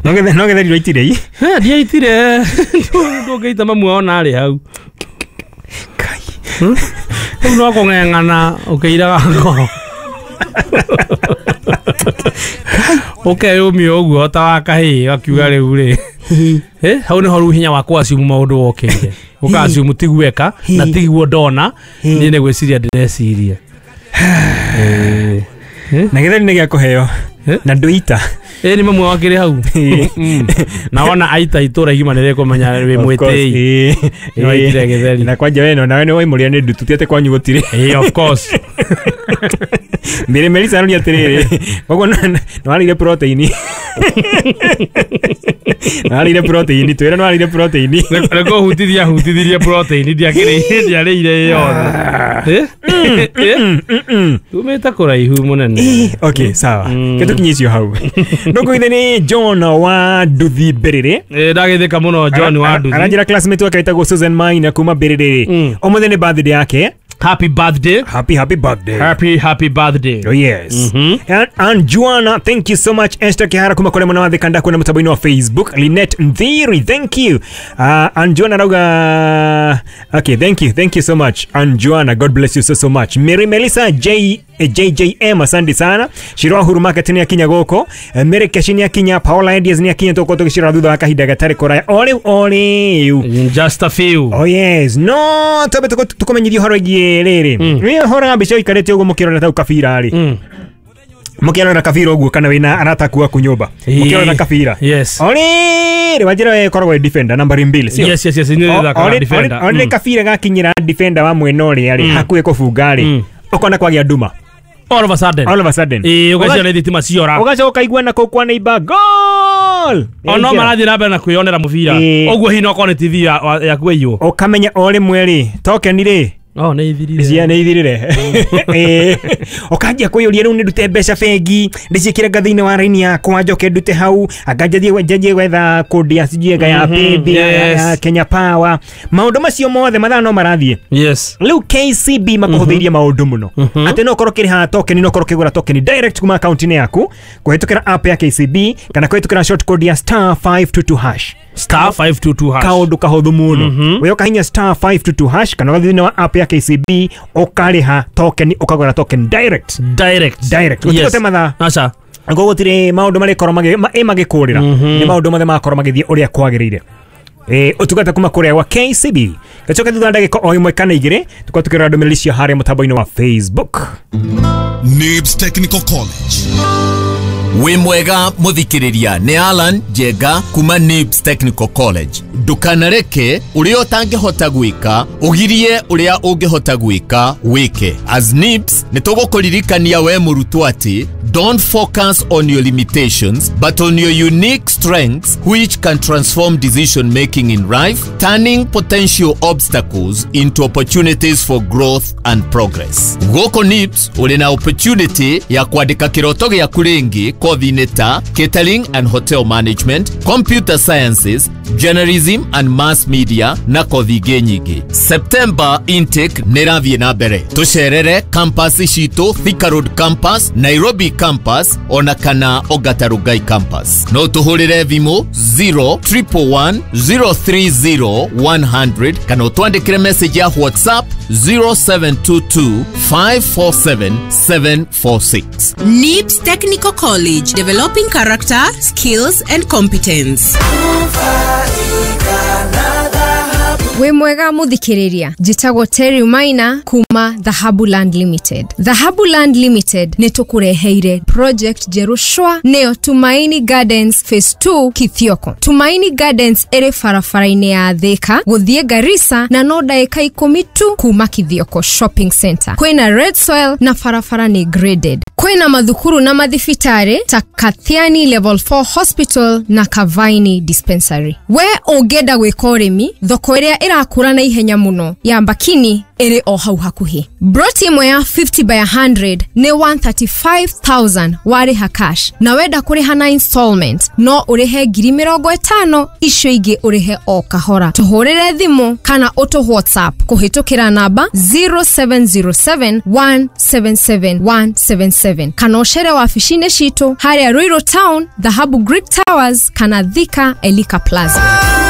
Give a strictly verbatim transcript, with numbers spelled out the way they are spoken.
No gethe no gethe ndwaitire i. Eh ndiaitire. Ndũngĩita mamu ona arĩ hau. Kai. Rĩu no kũng'eng'ana ũkĩiraga ngoro. Ũkeyũmia ũguo ta wa kahĩĩ gakiuga rĩu rĩ. Eh hau nĩho rĩu hinya wa kũ-assume maũndũ wokĩire. Ũka-assume tiguo eka na tiguo ndona niĩ nĩ gwĩciria ndĩreciria. Eh. Na githeri nĩ gĩa kũheo. Na ndũita. Ĩ nĩ mamu wakĩrĩ hau. Na wona aita itũra igima nĩ rĩkũmenya wĩ mwĩtĩi. Nĩ waitire gĩtheri. Na kwanja we no nawe nĩ waimũrĩa nĩ ndutu ti atĩ kwanyu gũtirĩ. Ĩ of course. Mbere Melissa aroria atĩrĩrĩ, koguo nĩ warĩire protein. Nĩ warĩire protein, twĩre nĩ warĩire protein. Nĩ kũhutithia hutithirie protein ndiakĩrĩire ndiarĩire yothe. Tumĩte kũraihu mũnene. Okay, sawa. Kĩtũkinye icio hau. Ndũkũgithe nĩ John wa Nduthi Mbĩrĩrĩ. Ĩ ndagĩthĩka mũno John wa Nduthi. Aranjĩra classmate wake wĩtagwo Susan Maina kuma Mbĩrĩrĩ. Ũmũthĩ nĩ birthday yake. Happy birthday. Happy, happy birthday. Happy, happy birthday. Oh, yes. Mm-hmm. And, and Joanna, thank you so much. Esther Kihara kuma kule mwana wa Thika kuna mtaboini wa Facebook. Lynette Nthiri, thank you. Uh, and Joanna Rauga. Okay, thank you. Thank you so much. And Joanna, God bless you so, so much. Mary Melissa J. J J M, asante sana. Shirwa Huru Market ni akinya goko. Mary Keshi ni akinya, Paola Edias ni akinya toko tokishira thutha wa kahinda gatari kuraya. Ole ole. In just a few. Oh yes. No, tobe tukomenyithio horo igie riri. Ni horo mbica ikarete uguo mukirora tau kabira ri. Mm. Mukirora kabira uguo kana wina arata ku aku nyumba. Mukirora kabira. Yes. Ole, wajira we koragwo defender nambari mbili, sio? Yes, yes, yes, ni thaka defender. Ole kabira gakinyira defender wa mwena uri ari hakuhi kubunga ri. Ukona kwagia nduma. All of a sudden. All of a sudden. Eh, ugacia nĩ thitima ciora. Ugacoka ũkaigua na kũu kwa neighbor goal. Ono marathiĩ na mbere na kwĩyonera mũbira. Ũguo hihi no korwo nĩ T V yaku ĩiywo. Ũkamenya o rĩmwe rĩ, token rĩ. Oh, nĩ ithirire. Cia nĩ ithirire. Eh. Ũkanjia kwĩyũria rĩu nĩ ndute mbeca bengi, ndĩciĩkĩre ngathĩ-inĩ wa raini yakwa njoke ndute hau, anga njanjie njanjie gwetha kodi ya sijui ya Paybill ya Kenya Power. Maũndũ macio mothe mathaa no marathiĩ. Yes. Rĩu K C B makũhũthĩirie maũndũ mũno. Atĩ no ũkorwo ũkĩrĩha token, no ũkorwo ũkĩgũra token direct kuma akaunti-inĩ yaku, kũhĩtũkĩra app ya K C B kana kũhĩtũkĩra short code ya star five two two hash. Star five two two hash. Kaũndũ kahũthũ mũno. We ũkahinya star five two two hash kana ũgathiĩ thĩinĩ wa app ya K C B ũkarĩha token ũkagũra token direct. Direct. Direct. Gũtigũte mathaa. Aca. Ngo gũtirĩ maũndũ marĩkorwo magĩ magĩkũrĩra. Nĩ maũndũ mothe makorwo magĩthiĩ ũrĩa kwagĩrĩire. Eh, ũtungata kuma kũrĩa gwa K C B. Gacoka thutha wa ndagĩka o ĩmwe kana igĩrĩ tũkorwo tũkĩrora ndũmĩrĩri cia harĩa mũtambo-inĩ wa Facebook. Nibs Technical College. Wĩ mwega mũthikĩrĩria nĩ Alan Njenga kuma Nibs Technical College. Ndũkanareke ũrĩa ũtangĩhota gwĩka ũgirie ũrĩa ũngĩhota gwĩka wĩke. As Nibs nĩ tũgũkũririkania we mũrutwo atĩ don't focus on your limitations but on your unique strengths which can transform decision making in life, turning potential obstacles into opportunities for growth and progress. Gũkũ Nibs ũrĩ na opportunity ya kwandĩka kĩroto gĩaku rĩngĩ kothi-inĩ ta catering and hotel management, computer sciences, journalism and mass media na kothi ingĩ nyingĩ. September intake nĩ ĩrathiĩ na mbere. Tũcerere campus citũ Thika Road campus, Nairobi campus ona kana Ongata Rongai campus. No tũhũrĩre thimũ zero triple one zero three zero one hundred kana ũtwandĩkĩre message ya WhatsApp zero seven two two five four seven seven four six. Nibs Technical College, developing character, skills and competence. Wĩ mwega mũthikĩrĩria, njĩtagwo Terry Maina kuma Dhahabu Land Limited. Dhahabu Land Limited nĩ tũkũreheire project njerũ shwa nĩyo Tumaini Gardens Phase two Kithioko. Tumaini Gardens ĩrĩ barabara-inĩ ya Thika gũthiĩ Garissa na no ndagĩka ikũmi tu kuma Kithioko Shopping Center. Kwĩna red soil na barabara nĩ graded. Kwĩna mathukuru na mathibitarĩ ta Kathiani Level four Hospital na Kavaini Dispensary. We ũngĩenda gwĩka ũrĩmi, thoko ĩrĩa ĩrakũra na ihenya mũno ya Mbakini ĩrĩ o hau hakuhĩ. Broti ĩmwe ya fifty by one hundred nĩ one hundred thirty-five thousand warĩha cash, na wenda kũrĩha na installment no ũrĩhe ngiri mĩrongo ĩtano, icio ingĩ ũrĩhe o kahora. Tũhũrĩre thimũ kana ũtũ WhatsApp kũhĩtũkĩra namba zero seven zero seven one seven seven one seven seven, kana ũcere wabici-inĩ citũ harĩa Ruiru Town, Dhahabu Greek Towers, kana Thika, Elika Plaza.